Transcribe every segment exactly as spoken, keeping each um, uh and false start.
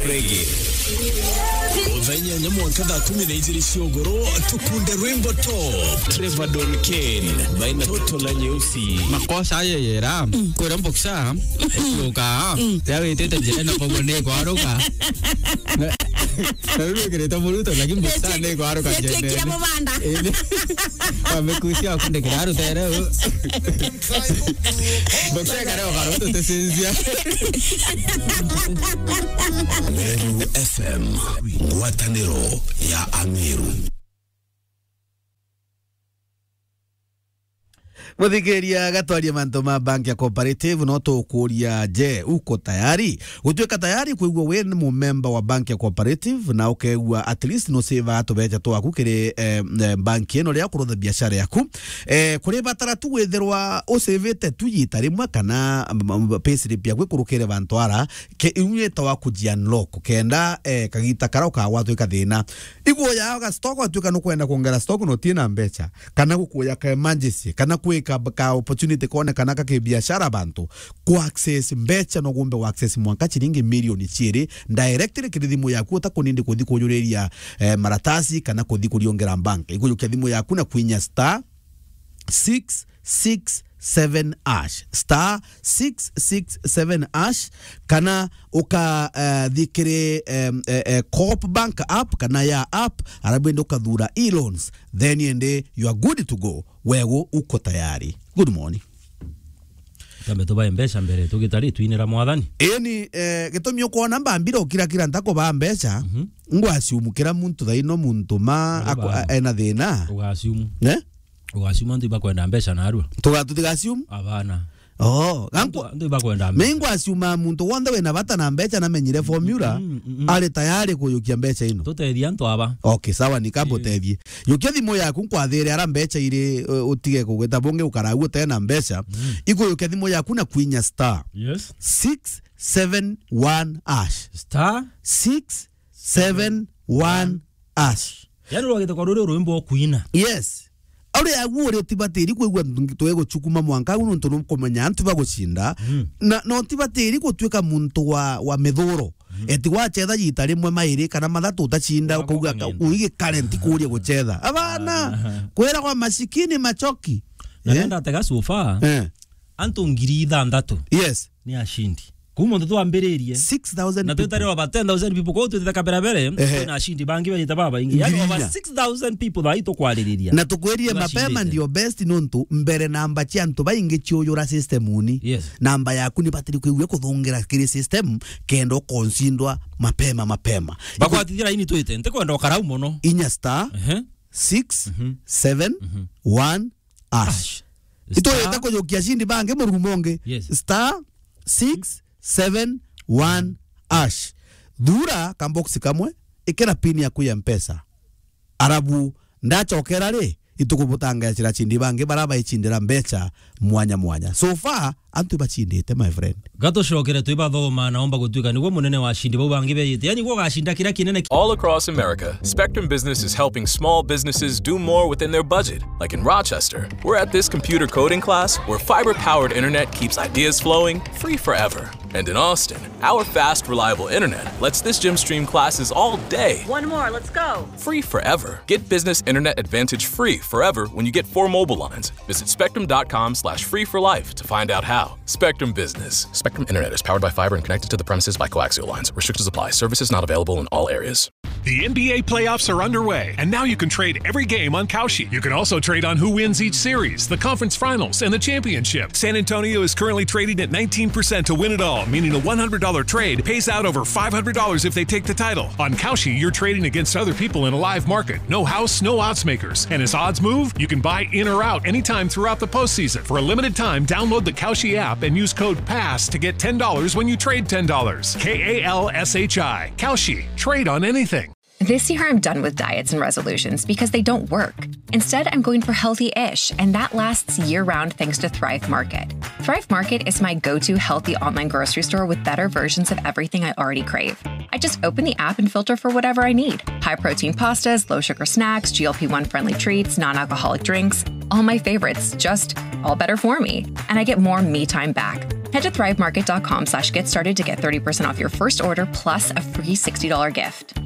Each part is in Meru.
Reggae. Muthenya na mwanka thaa kumi na ijiri cia ugoro, tukunde rwimbo top. Trevor Don Kane, baina toto la nyeusi. Makosa aye yera, kwira mboksa, kuka, ya witite njira na kogo ni kwaruka. Na, na ruru kirite muruto, lakini mboksa ni kwaruka njene. Kira mubanda. Amekusia kunde kiraru tere. Mboksa kare okaruto tesinzia. Meru F M, ngwataniro ya Ameru. Muthikiria, gatwarie mantu ma bank ya cooperative, no tukuria, je, uko tayari? Gutuika tayari kwigua wi ni mumemba wa bank ya cooperative na ukegua at least no save tubecha twaku kiri, eh, eh, bank ino ria kurutha biashara yaku. Eh, kuri batara tu withirwa usivite tu yita rimwe kana, mm, mm, payslip yaku ikurukire bantu ara, ke, iu yetawa kuji unlock, kenda, eh, kagita kara ukagwatwika thina. Iguya ga stock, watuika nukwenda kuongera stock na utina mbecha, kana gukuya ka emergency, kana kwika ka opportunity kone kana ka kibiashara bantu, ku access mbecha no gumbe ku access mwanka chiringi milioni chiiri directly kiri thimu yaku, utakunindi kuthi kujuriria, eh, maratasi kana kuthi kuriongera bank. Ikujukia thimu yaku na kwinya star six six seven hash, star six six seven hash, kana uka, eh, thikiri, em, eh, eh, Coop Bank app kana ya app, arabu indi ukathura e-loans, then indi you are good to go. Wegu uko tayari. Good morning. Tambe tubae mbeca mbere, tugitari twinira Mwathani. Eni, eh, gitumi ukwona mbambire ukira kira ntakubaa mbeca, Mhm. ngwasiumu kira muntu thaino muntu ma Ari ako-, baba. a-, ena thina. Ugasiumu. Ne? Ugasiumu antu ibakwenda mbeca narua. Tuga-, tutigasiumu? Abana. Oh, Antu, gankwa-, antu ibakwenda mbeca. Me ngwasiuma muntu wonthe wina bata na mbeca na menyire formula, Mm, mm, mm. ari tayari kuyukia mbeca ino. Tutethia antu aba. Okay, sawa, ni kamba Eh. utethie. Yukia thimu yaku, nkwathire ara mbeca iri, uh, utige kugweta bungi ukaragu utena mbeca. Mm. Ikuyukia thimu yaku na kwinya star Yes. six seven one hash. Star Six seven one hash. Yani, rwagite kwa ruri rwimbo kuina. Yes. Ari agu uri utibatiri kwigua twiguchukuma mwanka agu nontu nukumenya antu bagucinda. Mm. Na, na utibatiri gutuika muntu wa, wa mithuro. Mm. Eti wachetha yita rimwe mairi kana mathatu utacinda, Wako ukauga ka-, kang'enda. Uigi current kuria guchetha. Abana, Aha. kwira kwa masikini machoki. Na Eh? nenda atega so far, Eh. antu ngiri ithanthatu Yes. ni ashindi. Kuma muntu twambiririe. Six thousand Na people. twitari over ten thousand people. Kwa hiyo twitite kabera mbere, Ehe. kwina ashindi bangi bajite babaingi. Yani Ngiri over inya. six thousand people thaai tukwaririria. Na tukwirie mapema Bacindite. ndio best nontu mbere namba cia antu baingi ciuyura system uni. Yes. Namba yaku ni batiri kwigua kuthungira kiri system kenda ukonsindwa mapema mapema. Bakwatithia laini twite, ntikwenda ukarau mono. Inya star Ehe. six seven one hash. Hash. Itwirite Star kujukia cindi bangi murumo ungi. Yes. Star six seven one hash. Thura kambox kamwe, ikira pin yaku ya Mpesa. Arabu, ndachokera ri, itukubutangacira cindi bangi bara baicindira mbecha mwanya mwanya. So far, antu ibacindite, my friend. Gatucokere twibathoma, naomba gutuika niguo munene wa cindi bau bangi beyite. Yani, niguo ugacinda kiria kinene ki- All across America, Spectrum Business is helping small businesses do more within their budget. Like in Rochester, we're at this computer coding class where fiber-powered internet keeps ideas flowing free forever. And in Austin, our fast, reliable internet lets this gym stream classes all day One more, let's go. free forever. Get business internet advantage free forever when you get four mobile lines. Visit spectrum dot com slash free for life to find out how. Spectrum Business. Spectrum Internet is powered by fiber and connected to the premises by coaxial lines. Restrictions apply. Services not available in all areas. The N B A playoffs are underway, and now you can trade every game on Kalshi. You can also trade on who wins each series, the conference finals, and the championship. San Antonio is currently trading at nineteen percent to win it all, meaning a one hundred dollar trade pays out over five hundred dollars if they take the title. On Kalshi, you're trading against other people in a live market. No house, no odds makers. And as odds move, you can buy in or out anytime throughout the postseason. For a limited time, download the Kalshi app and use code PASS to get ten dollars when you trade ten dollars. K A L S H I. Kalshi. Trade on anything. This year, I'm done with diets and resolutions because they don't work. Instead, I'm going for healthy ish, and that lasts year round thanks to Thrive Market. Thrive Market is my go to healthy online grocery store with better versions of everything I already crave. I just open the app and filter for whatever I need: high protein pastas, low sugar snacks, G L P one friendly treats, non alcoholic drinks, all my favorites, just all better for me. And I get more me time back. Head to thrivemarket dot com slash get started to get thirty percent off your first order plus a free sixty dollar gift.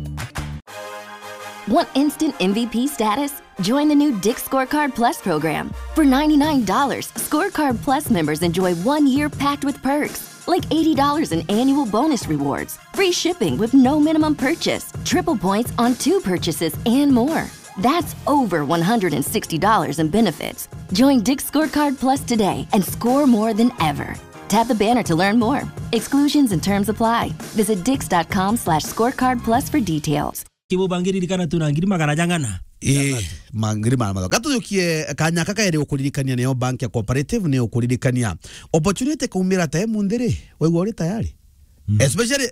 Want instant M V P status? Join the new Dick's Scorecard Plus program. For ninety-nine dollars, Scorecard Plus members enjoy one year packed with perks, like eighty dollars in annual bonus rewards, free shipping with no minimum purchase, triple points on two purchases, and more. That's over one hundred sixty dollars in benefits. Join Dick's Scorecard Plus today and score more than ever. Tap the banner to learn more. Exclusions and terms apply. Visit dicks dot com slash scorecard plus for details. Kibu bangiririkana tu na ngiri magana jang'ana. Eh, ma-, ngiri magana mathatu. Katujukie kanya kaka eri ukuririkania niyo bank ya cooperative ni ukuririkania. Opportunity kaumira ta emunthi ri, waigua uri tayari? Mm. Especially,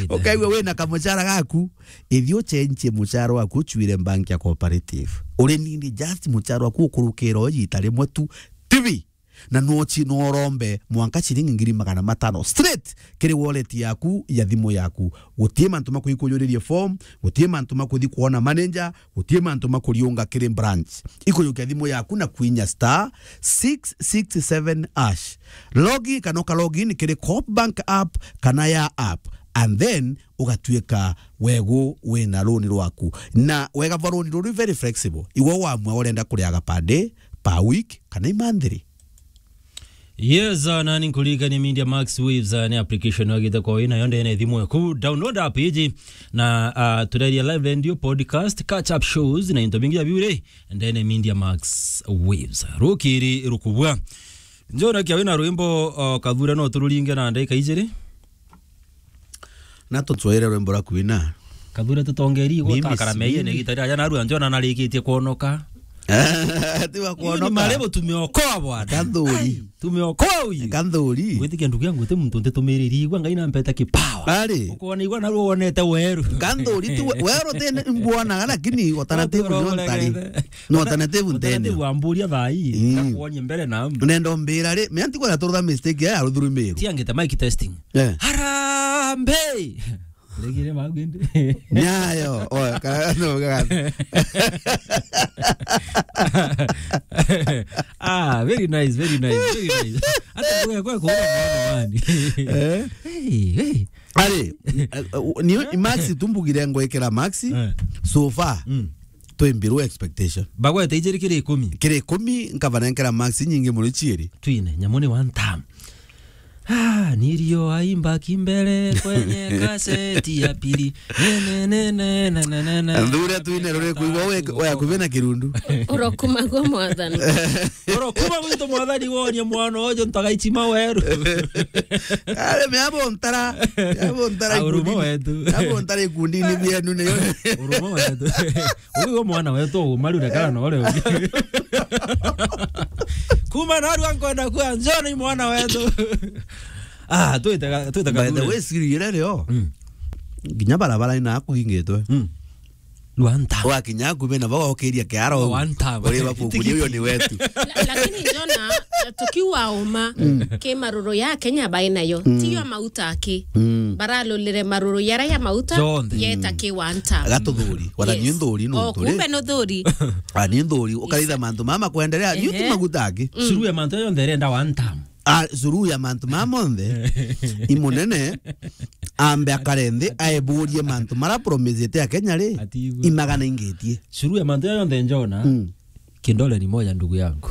ukaigua wina kamuchara gaku, ithi uchenchie muchara waku uchuire bank ya cooperative. Uri nini just muchara waku ukurukira o ita rimwe tu, tibi. Na no chi-, no urombe mwanka ciringi ngiri magana matano straight kiri wallet yaku ya thimu yaku. Gutie mantu ma kwikujuririe form, gutie mantu ma kuthi kuona manager, gutie mantu ma kuriunga kiri branch. Ikujukia thimu yaku na kwinya star six six seven hash. Logi kana uka login kiri Coop Bank app kana ya app, and then ugatuika wegu wina runi rwaku. Na wega bwa runi ruri very flexible. Iwe wamua urenda kuria ga per day, per week, kana imanthiri. Yes, uh, nani nkuririkanie Media Max Waves, uh, ni application wagite kwa wina yo ndene thimu yaku. Download app iji na, uh, tureria live radio, podcast, catch up shows na into bingi ya biure ndene Media Max Waves. Rukiri rukubwa. Njona kia wina rwimbo, uh, kathure no tururinge na ndagika ijiri. Na tutwire rwimbo rwa kwina. Kathure tutongeri igwe. Mimi kakara meiye ni gitari aja narua njona narikitie kuonoka. Tiwa kuonoka. Ni marebo tumeokoa bwana. Kanthuri. Ai, tumeokoa uyu. Kanthuri. Gwitikia ndugu yangu ti muntu ntitumiririe igwa Ngai nampeta kipawa. Ari. Ukona igwa narua wonete weru. Kanthuri ti we-, weru ti mbwona lakini alternative no ntari. No alternative ntene. Alternative amburia thai. Mm. Ndakuonie mbere na. Nendo mbira ri, me anti kwa turutha mistake ya ruthurumiru. Tiangite mic testing. Eh. Harambee! Regire magu indi. Nyayo. Oya, kana no gaga. Ah, very nice, very nice, very nice. Ata kwa kwa kwa mwana wani. Eh? Hey, hey. Ari, eh, eh, ni Max tumbugire ngwekera Max. Eh. So far. Mm. Twi below expectation. Bagwete ijiri kiri ikumi. Kiri ikumi, nkabanenkera Max nyingi muno ciiri. Twine, nyamu ni one time. Ah, nilio aimba kimbele kwenye kaseti ya pili. Ne, ne, ne, ne, na, na, na, na. Nthure twine ruri kuigwa we, we akubi na kirundu. Urokuma gwa mwathani. Urokuma gwitu mwathani wonie mwana uju ntagaichima weru. Ari me abo ntara. Abo ntara. Ah, urumo ikundi-ini. Wetu. Abo ntara ikundi-ini bienu ni. Urumo wetu. Uyu mwana wetu umarure kana no ule. Kuma narua nkwenda kwa njoni mwana wetu. Ah, twitega, twitega. By the way, siri ira rio. Mm. Nginya barabara ina kugingitwe. Mm. Rwanta. Wakinya ku bena bagokiria kiaro. Rwanta. Uri babuku uyo ni wetu. La-, lakini Jona, tukiwa uma, ke maruru ya Kenya bainayo. Mm. Tiyo mauta aki. Mm. Baralulire maruru yara ya mauta. Jonthe. Yeta ki wanta. Gatuthuri. Wala ni nthuri no. Oh, turi. Kumbe no thuri. Ah, ni nthuri. Ukaritha mantu mama kwendelea. Ni uti maguta aki. Mm. Suru ya mantu yonthe irenda one time. Ah, suru ya mantu mama monthe. Imunene. Ambe akare nthi, aeburie mantu mara promisete ya Kenya ri. Atigwe. Imagana ingitie. Suru ya mantu yonthe njona. Mm. Kindole ni moja, ndugu yangu.